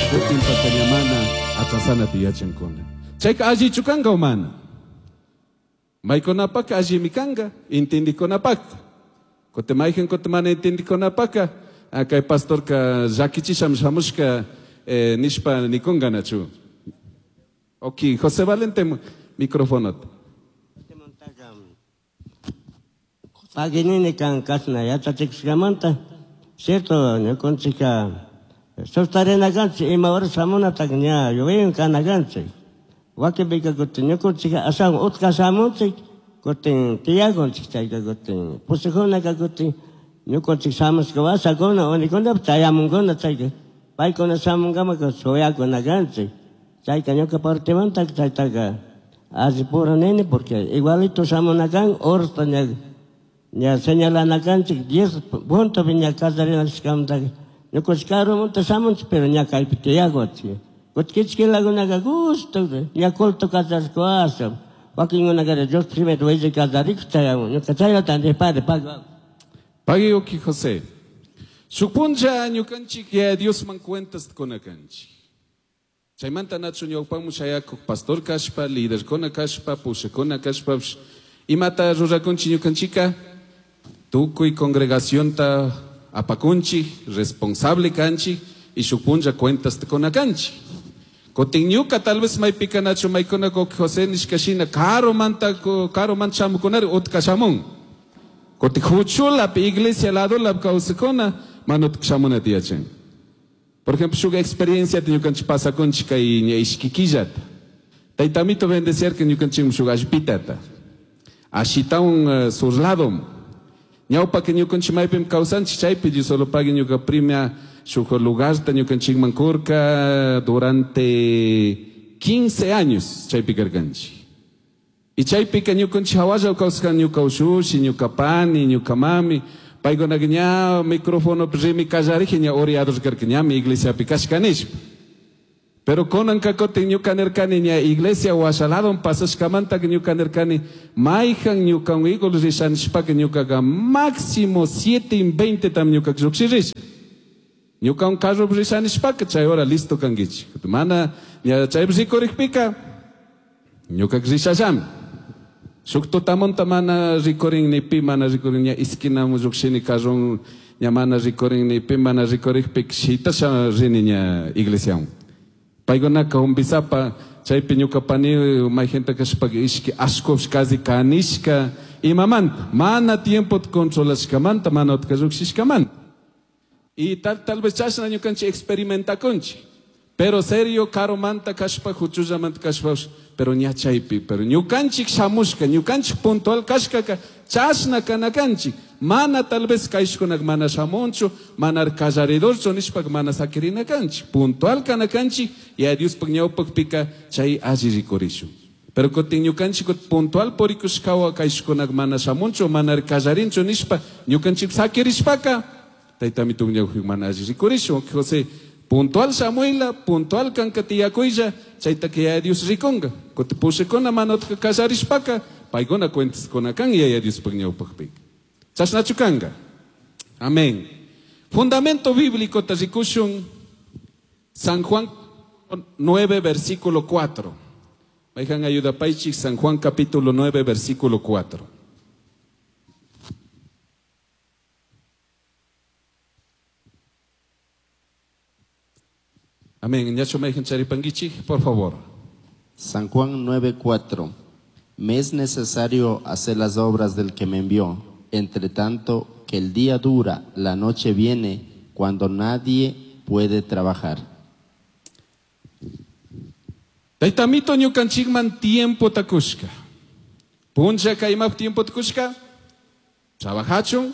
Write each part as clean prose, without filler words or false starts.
Kutin paka ña mana atrasanata yachankuna. Chayka allichu kanka o mana? Maykunapaka allimi kanka, intindikunapaka. Kutin mayqin kutin mana intindikunapaka, kay pastorka llakichisham shamushka nishpa nikunkanachu. Ok, José Valente, microfonota. Paginini kan kashna yachachikushkamanta, cierto, ñukanchikka sustarina kanchik, ima hora shamunataka ña yuyaywan kana kanchik. Wakinpika kutin ñukanchikka ashawan utka shamunchik, kutin tiyakunchik, chayka kutin pushakkunaka kutin ñukanchik shamushka washakuna, unikunapish chayamunkuna, chayka paykuna shamunkamaka shuyakuna kanchik. Chayka ñuka partemanta chaytaka alli pura nini, porque igualito shamuna kan, horasta ña, ña señalana kanchik, 10 puntopi ña kallarina kashkamantaka ñukanchik karumunta shamunchik, pero ña kaypi tiyakunchik. Kutin kichkilakunaka gusto, ña culto kallarishka washa, wakinkunaka Dios primero willi kallarikuk chayamun, ñuka chaylata nipari, pago. Pagui uki José. Shuk punlla ñukanchik ya Diosman cuentas kuna kanchik. Chaymanta nachu ñawpamu shayakuk pastor kashpa, liderkuna kashpa, pushakuna kashpa, imata rurakunchik ñukanchika, tukuy congregacionta apakunchik, responsable kanchik, y shuk punlla cuentas kuna kanchik. Kutin ñuka tal vez maypika nachu maykuna kuk José nishkashina karumanta karuman shamukunari utka shamun. Kutin huchulapi iglesia ladulapi kawsakuna mana utka shamunata yachan. Por ejemplo, shuk experiencia ñukanchik pasakunchik kay ña ishkikillata. Taytamito bendecir que ñukanchik shuk allpitata. Ashitawan sur lado. Ñawpa que ñukanchik maypim kawsanchik chaypi Dios solo pague ñuka primia shuk lugarta ñukanchikman kurka durante 15 años chaypi karkanchik. Y chaypika ñukanchik hawalla kawsaskan ñuka ushushi, ñuka pani, ñuka mami. Paykunaka ña micrófono rimi kallariji ña oriados karka ñami iglesiapi kashka nishpa. Pero kunanka kutin ñuka nirkani ña iglesia washaladon pasashkamanta ñuka nirkani mayjan ñukan igol rishanishpaka ñukaka máximo 7:20 tam ñuka llukshirisha. Ñukan carro rishanishpaka chay hora listo kankichik. Mana ña chay rikurikpika ñuka rishallami. Shuk tutamunta mana rikurin ni pi mana rikurin ña esquinamu llukshini carron ña mana rikurin ni pi mana rikurikpika shitasha rini ña iglesiawan. Paykunaka humbisapa chaypi ñuka pani mayjinta kashpaka ishki ashkush kazi kanishka imamanta mana tiempo controlashkamanta mana utka llukshishkamanta. Y tal vez chashna ñukanchik experimentakunchik. Pero serio karumanta kashpa huchullamanta kashpa pero ña chaypi, pero ñukanchik shamushka, ñukanchik puntual kashkaka chashna kanakanchik. Mana tal vez kayshkunak mana shamunchu, mana kallaridorchu nishpak mana sakirinakanchik. Puntual kanakanchik y a Diospaq ñawpaqpika chay alli rikurishun. Pero kutin ñukanchik puntual purikushkawa kayshkunak mana shamunchu, mana kallarinchu nishpa ñukanchik sakirishpaka taytami ñawpaq mana alli rikurishun. José puntual shamuila, puntual kanka tiyakuylla, chayta que ya Dios rikunga. Kuti pushikuna mana utka kallarishpaka, paykuna cuentaskuna kan yaya Diospaq ñawpaqpika. Chashnachu kanka. Amén. Fundamento bíblico ta rikushun San Juan 9, versículo 4. Mayjan ayuda paychik, San Juan capítulo 9, versículo 4. Amén. Ñacho mayjan charipanguichik, por favor. San Juan 9, 4. Me es necesario hacer las obras del que me envió. Entre tanto que el día dura, la noche viene, cuando nadie puede trabajar. Taytamito ñukanchikman tiempo takushka. Puncha kaymap tiempo takushka. Trabajachun,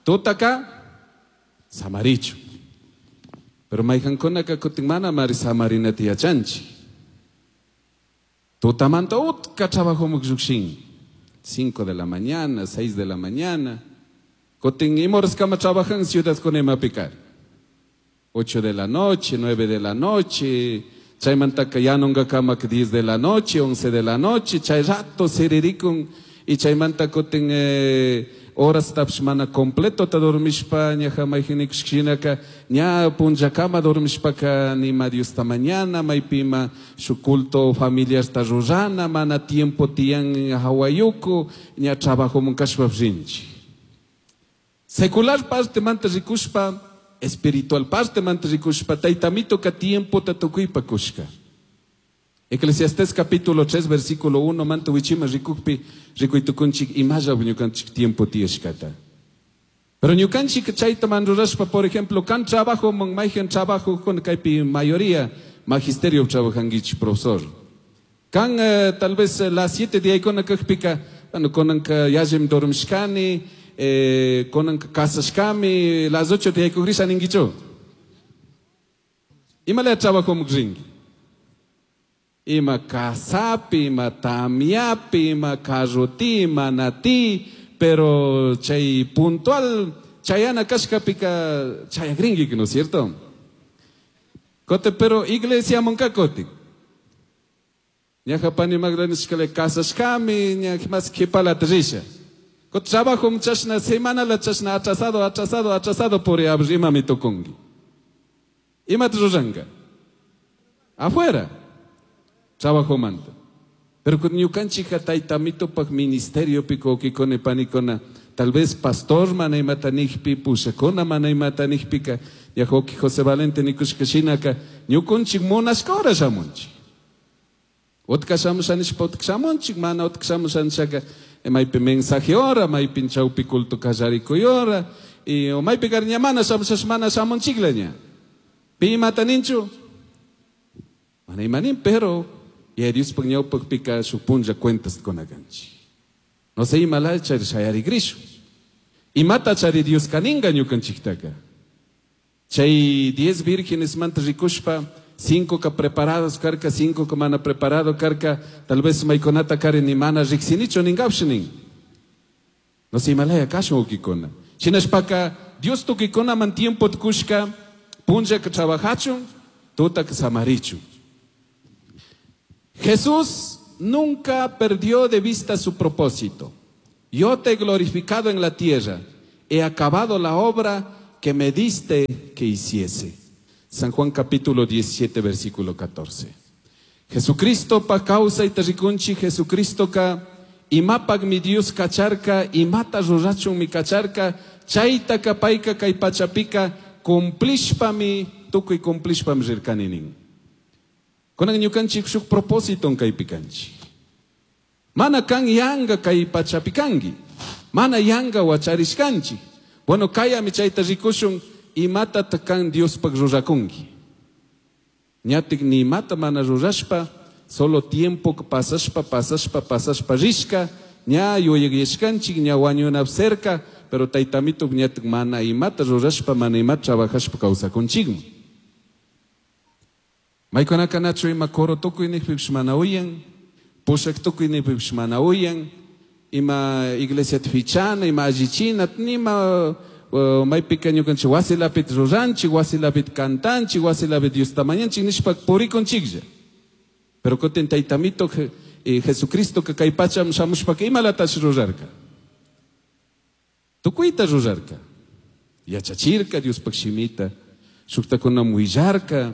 tutaka, samarichu. Pero mayjankunaka kutin mana mari samarinata yachanchik. Tutamanta utka trabajomuk llukshin. 5 de la mañana, 6 de la mañana. Kutin imoras kama trabajan ciudad con imapicar. 8 de la noche, 9 de la noche. Chaymantaka yanunga kama 10 de la noche, 11 de la noche. Chay rato siririkun. Y chaymanta kutin Horas tapsh mana completo ta dormishpa ñaja mayjinikushkinaka ña punllakama dormishpaka nima Diosta mañana maypima shuk culto familiarta rurana mana tiempo tiyan hawayuku ña trabajo kashpa rinchik. Secular parte manta rikushpa, espiritual parte manta rikushpa, taytamito ka tiempo ta tukuypa kushka. Eclesiastés capítulo 3 versículo 1 manta wichima rikukpi rikuytukunchik imalla ñukanchik tiempo tiyashkata. Pero ñukanchik chayta man rurashpa, por ejemplo, kan trabajo man mayhan trabajo con kaypi mayoría magisterio trabajanguich profesor. Kan tal vez las 7 de ahí kakpika, bueno, konanka yallim dormishkani, konanka kasashkami, las 8 de ahí kugrisha ninguicho. Imala trabajo mukringi. Ima kasapi, ima tamiapi, ima karruti, ima nati, pero chay puntual, chayana kashkapika chayagringi, ¿no es cierto? Kote, pero iglesia monka koti. Ñaja pani magranishkale kasashkami, ña más kipala trisha. Kote trabajo muchashna semana la chashna atrasado, atrasado, atrasado por ima mi tokongi. Ima truranga. Afuera. Trabajo manta. Pero con ñukanchika taytamito pak ministerio pico kikone panikona, tal vez pastor mana imatanikpi, pushakona mana imatanikpika, yajoki José Valente nikushkashinaka, ñukunchik munashka hora shamunchik. Utka shamushanishpa utka shamunchik, mana utka shamushanishaka, maypi mensaje hora, maypi chawpi culto kallarikuy hora, y o maypi kariña mana shamushash mana shamunchiklaña. Pi imataninchu? Mana imanin, pero y Dios pak ñawpakpika shuk punlla cuentas konakanchik. No sé imala chari shayarigrishu. Imata chari Dios kaninga ñukanchiktaka. Chay 10 vírgenes manta rikushpa, 5 ka preparados karka, 5 ka mana preparado karka, tal vez maykunata kari ni mana riksinichu ningapshinin. No sé imalaya kashun ukikuna. Shinashpaka Dios tukikuna man tiempo tkushka, punlla ka trabajachun, tuta ka samarichu. Jesús nunca perdió de vista su propósito. Yo te he glorificado en la tierra, he acabado la obra que me diste que hiciese. San Juan capítulo 17, versículo 14. Jesucristo pa causa y terricunchi, Jesucristo ka imapak mi Dios kacharka, imata rurachun mi kacharka, chayta ka payka kay pachapika, cumplishpa mi, tukuy cumplishpa mi rirkaninin. Kunan ñukanchik shuk propósito kaypikanchik. Mana kan yanga kay pachapikanki. Mana yanga wacharishkanchik. Bueno, kayami chayta rikushun imata kan Diospaq rurakunki. Ñatik ni imata mana rurashpa, solo tiempo pasashpa, pasashpa, pasashpa rishka, ña yuyayashkanchik, ña wañunap cerca, pero taytamito ñatik mana imata rurashpa, mana imata trabajashpa kawsakunchikmi. Maykunaka nachu ima coro tukuy nijpipish mana uyan, pushak tukuy nijpipish mana uyan, ima iglesia fichana, ima allichina, nima maypika ñukanchik wasilapit ruranchik, wasilapit cantanchik, wasilapit Diosta mañanchik nishpa purikunchiklla. Pero kutin taytamito Jesucristo ka kay pacham shamushpaka imalatash rurarka. Tukuyta rurarka. Yachachirka Diospaq shimita, shuktakunam willarka.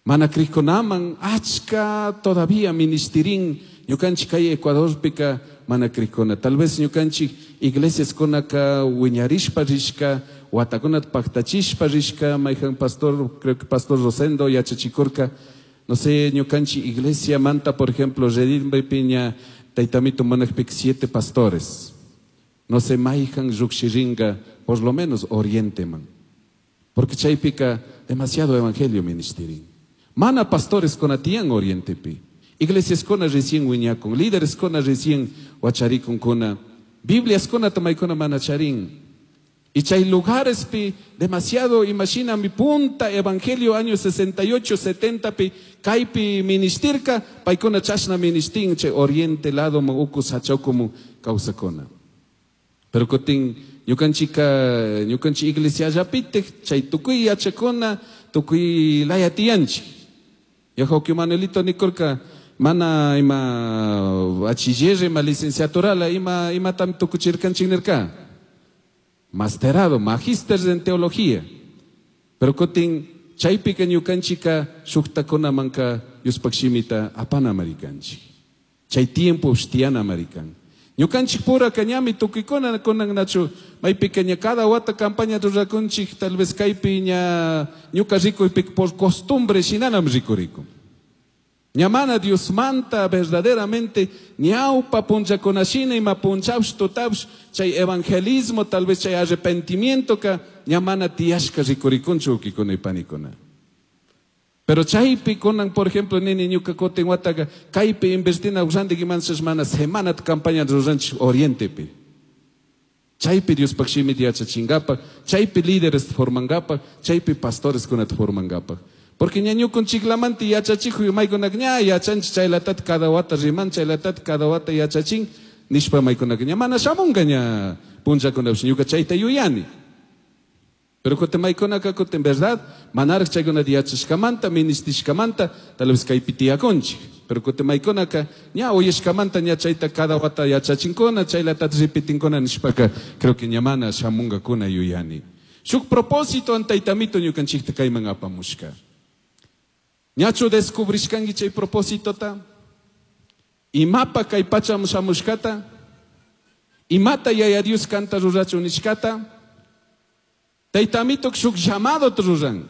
Mana krikunaman achka todavía ministerin ñukanchik kay Ecuadorpika mana krikuna. Tal vez ñukanchik iglesias kunaka wiñarishpa rishka, watakunata paktachishpa rishka, mayhan pastor, creo que pastor Rosendo yachachikurka, no sé, ñukanchik iglesia manta, por ejemplo, Redimbe Piña, taytamito manakpik 7 pastores. No sé, mayhan llukshiringa, por lo menos oriente man. Porque chaypika demasiado evangelio ministerin. Mana pastores con atiyan orientepi. Iglesias con recién wiñakun, líderes con recién wacharikun kuna, Biblias con tamaykuna mana charin. Y chay lugares pi demasiado, imagina mi punta evangelio año 68, 70 pi kaypi ministirka, paykuna chashna ministin chay oriente lado mo uku sachokumu kawsakuna. Pero kutin ñukanchika, ñukanchi iglesia allapite, chay tukuy yachakuna, tukuy laya tiyanchik. Yajo que Manuelito Nicolca, mana ima bachiller, ima licenciaturala, ima imatam tukuchirkanchik nirka. Masterado, magíster en teología. Pero kutin chaypika ñukanchika shuktakunamanka Diospaj shimita apana marikanchik. Chay tiempo tiyana marikan. Ñukanchik pura ñami tukuykuna kunan nachu maypika ña cada wata campaña rurakunchik tal vez kaypi ña ñuka rikuypi por costumbre shinanam rikurikun. Ña mana Diosmanta verdaderamente ñawpa punllakunashina ima punchawsh tutawsh chay evangelismo tal vez chay arrepentimiento ka ña mana tiyashka rikurikunchu wawkikuna y panikuna. Pero chaypi kunan, por ejemplo, nini ñuka kutin wataka kaypi invertina randik imanchas mana semanata campaña ruranchik orientepi. Chaypi Diospaj shimita yachachinkapak, chaypi líderes formankapak, chaypi pastores kunata formankapak. Porque ña ñukunchiklamanta yachachikuy maykunaka ña yachanchik chaylatata cada wata riman, chaylatata cada wata yachachin, nishpa maykunaka ña mana shamunka ña punllakunapish ñuka chayta yuyani. Pero kutin maykunaka kutin verdad, manaraj chaykunata yachashkamanta, ministishkamanta, tal vez kaypi tiyakunchik. Pero kutin maykunaka ña uyashkamanta ña chayta cada wata yachachinkuna, chaylatata repitinkuna nishpaka, creo que ña mana shamunkakuna yuyani. Shuk propósito taytamito ñukanchikta kayman apamushka. Ñachu descubrishkanki chay propósitota? Imapa kay pachaman shamushkata? Imata Yaya Dios kanta rurachun nishkata? Taytamito shuk llamado ruran.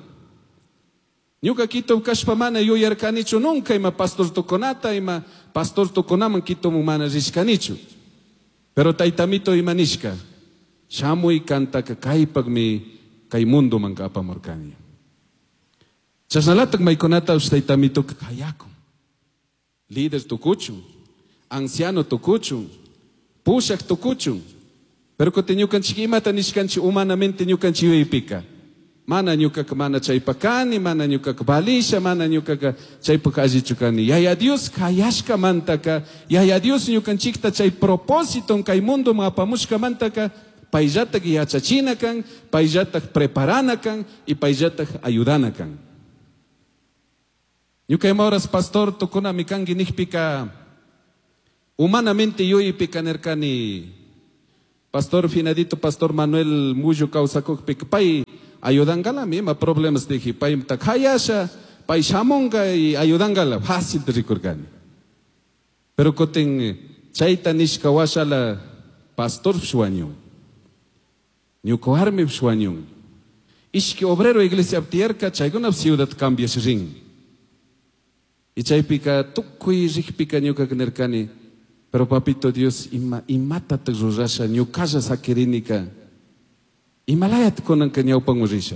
Ñuka Quito kashpa mana yuyarkanichu nunca ima pastor tukunata, ima pastor tukunaman Quitomun mana rishkanichu. Pero taytamito ima nishka, shamuy kantaka kaypakmi kay mundoman apamurkani. Chashnalatak maykunata taytamito kayakun. Líder tukuchun, anciano tukuchun, pushak tukuchun. Pero kutin ñukanchik imata nishkanchik humanamente ñukanchik yuyaypika. Mana ñukaka mana chaypak kani, mana ñukaka valisha, mana ñukaka chaypak allichu kani. Yaya Dios kayashkamantaka, Yaya Dios ñukanchikta chay propósito kay mundoman apamushkamantaka, payllatak yachachina kan, payllatak preparana kan y payllatak ayudana kan. Ñuka ima horas pastor tukunami kanki nijpika, humanamente yuyaypika nirkani, pastor finadito, pastor Manuel Mullo kawsakukpika, pay ayudangalami, ima problemas dije, pay hayasha, pay shamunga y ayudangala, fácil rikurkani. Pero kutin chayta nishka washala pastor wañun, ñuka warmipish wañun. Ishki obrero iglesia tiyarka, chaykuna ciudad cambiash rin. Y chaypika tukuy rikpika ñukaka nirkani, pero papito Dios, ima imatatak rurasha, ñukalla sakirinika, imalayat kunanka ñawpanman risha.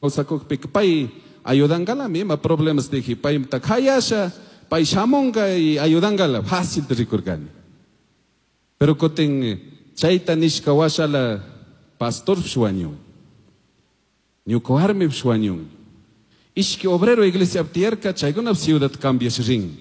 Kawsakukpika pay ayudangalami, ima problemas dije, pay hayasha, pay shamunga y ayudangala, fácil rikurkani. Pero kutin chayta nishka washala pastorpish wañun, ñuka warmipish wañun. Ishki obrero iglesia tiyarka, chaykuna ciudad cambiash rin.